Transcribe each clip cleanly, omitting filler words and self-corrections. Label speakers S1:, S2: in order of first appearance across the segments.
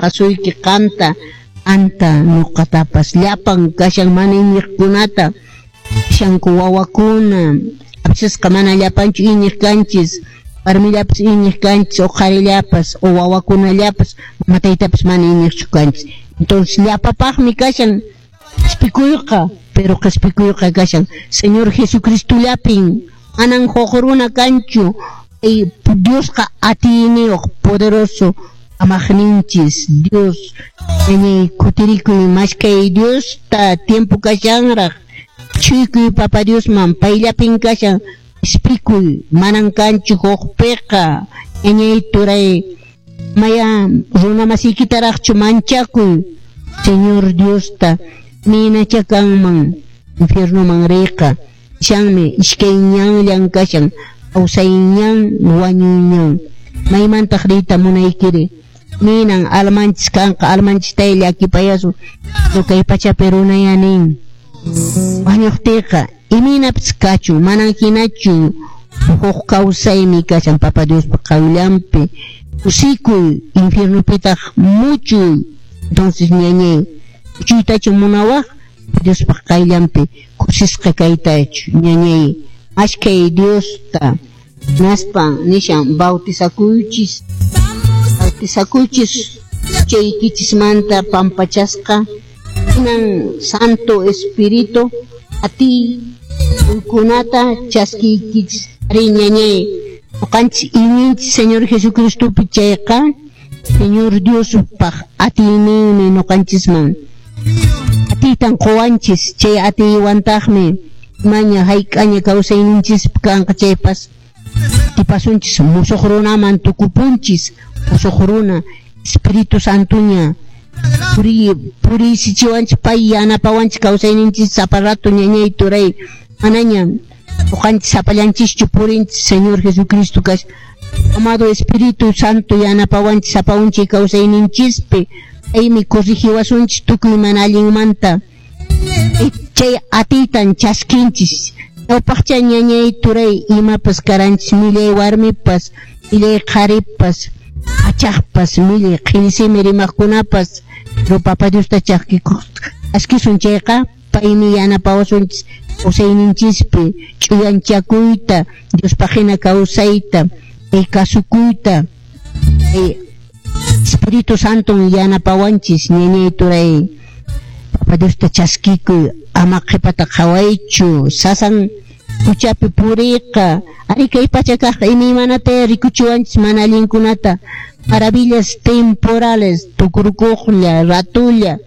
S1: Asuyki qanta anta nuqatapas llapan kashan mana iñiqkunata kashanku wawakuna apsisqa mana llapanchu iñiq kanchis warmillapas iñiq kanchis o qharillapas o wawakunallapas mama taytapas mana iñiqchu kanchis. Entonces llapapaqmi kashan qhispikuyqa, pero qhispikuyqa kashan Señor Jesucristollapin, manan huk runa kanchu. Diosqa atiyniyuq, poderoso amaqninchis Dios. Ñañay, kutirikuy, maskay Diosta, tiempo kashanraq. Chuykuy Papa Diosman, payllapin kashan qhispikuy, manan kanchu hukpiqa. Ñañay, turay, maya runa masiykitaraqchu manchakuy Señor Diosta, minacha kanman infiernoman riyqa. Shanmi iskay ñanllan kashan, kawsay ñan, wañuy ñan. Maymantaq riyta munaykiri? Minan almanchis kanqa, almanchistay llakipayasun. Pero kay pachapi runaya nin, wañuqtiyqa imaynapas kachun, manan hinachu, huk kawsaymi kashan Papa Diospa qayllanpi. Kusikuy, infiernopitaq muchuy. Entonces ñañay, muchuytachu munawaq? Diospa qayllanpi kusisqa kaytachu, ñañay, maskay Diosta. Hinaspa nishan bautizakuychis, bautizakuychis huchaykichismanta pampachasqa, hinan Santo Espíritu atiy kunata chaskiykichis. Ari ñañay, ñuqanchis iñinchis Señor Jesucristopi chayqa, Señor Diospaq atiyninmi ñuqanchisman atiytan quwanchis, chay atiywantaqmi maña hayk'aña kawsayninchispi kanqa chaypas tipasunchis, musuq runaman tukupunchis, musuq runa Espíritu Santoña puriysichiwanchis, pay yanapawanchis kawsayninchis sapa rato ñañay turay, manaña ñuqanchis sapallanchischu purinchis, Señor Jesucristo kash amado Espíritu Santo yanapawanchis sapa unchay kawsayninchispi, paymi corrigiwasunchis tukuy mana allinmanta. Chay atiytan chaskinchis. Ñawpaqcha ñañay turay imapas karanchis, millay warmipas, millay qharipas, achaqpas, millay qhillisimi rimaqkunapas, pero Papa Diosta chaskisun chayqa, paymi yanapawasunchis kawsayninchispi ch'uyanchakuyta, Diospaq hina kawsayta, kasukuyta. Espíritu Santon yanapawanchis ñañay turay. Papa Diosta chaskikuy, ama qhipata qhawaychu, sasan huchapi puriyqa. Ari kay pacha kaqqa imaymanata rikuchiwanchis mana allinkunata, maravillas temporales, tukurukuqlla, ratulla,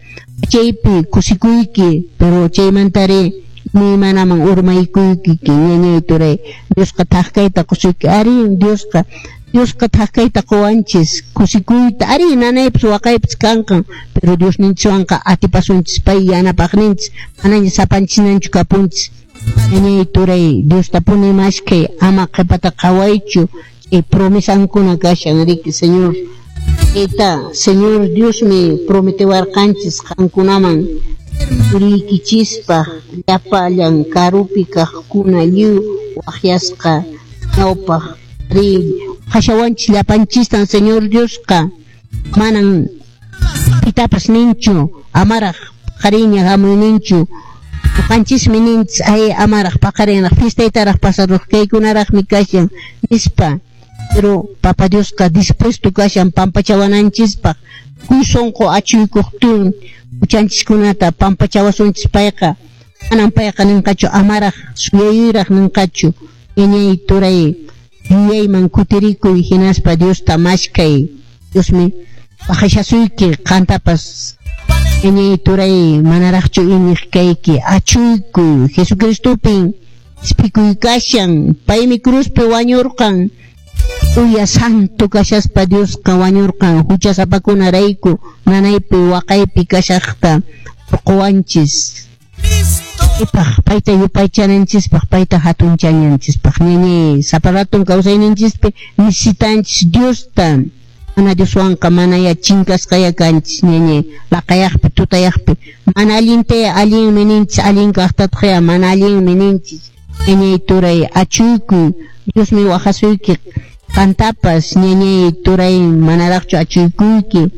S1: chaypi kusikuyki, pero chaymantari imaymanaman urmaykuyki ñañay turay. Diosqa thak kayta qusuyki, ari Diosqa thak kayta quwanchis, kusikuyta, ari nanaypas waqaypas kanqan, pero Diosninchikwanqa atipasunchis, pay yanapaqninchis, manaña sapanchisnanchu kapunchis. Ñañay turay, Diostapuni maskay, ama qhipata qhawaychu, chay promesankuna kashan riki Señor. Chayta Señor Diosmi prometiwarqanchis qankunaman turiykichispaq llapallan karupi kaqkuna lliw waqyasqa ñawpaq ri qhashawanchis llapanchistan Señor Diosqa, manan pitapas ninchu, amaraq paqariña hamuyninchu. Ñuqanchismi ninchis, ay amaraq paqarinraq fiestaytaraq pasaruq kaykunaraqmi kashan nispa, pero Papa Diosqa dispuesto kashan pampachawananchispaq, kuy sunqu achuykuqtin huchanchiskunata pampachawasunchis payqa, manan payqa ninqachu amaraq suyayuyraq ninqachu. Ñañay turay, yuyayman kutirikuy hinaspa Diosta maskay, Diosmi waqashasuyki qantapas. Ñañay turay, manaraqchu iñiq kayki, achuykuy Jesucristopin qhispikuy kashan, paymi cruzpi wañurqan, uya santo kashaspa Diosqa wañurqan huchasapakunarayku, nanaypi waqaypi kashaqta urquwanchis. Ipaq payta yupaychananchispaq, payta hatunchananchispaq. Ñañay, sapa raton kawsayninchispi necesitanchis Diosta. Mana Dioswanqa manaya chinkasqaya kanchis ñañay, laqayaqpi tutayaqpi mana allintaya allinmi ninchis, allin kaqtataqya mana allinmi ninchis. Ñañay turay, achuykuy, Diosmi waqasuyki qantapas, ñañay turay, manaraqchu achuykuyki.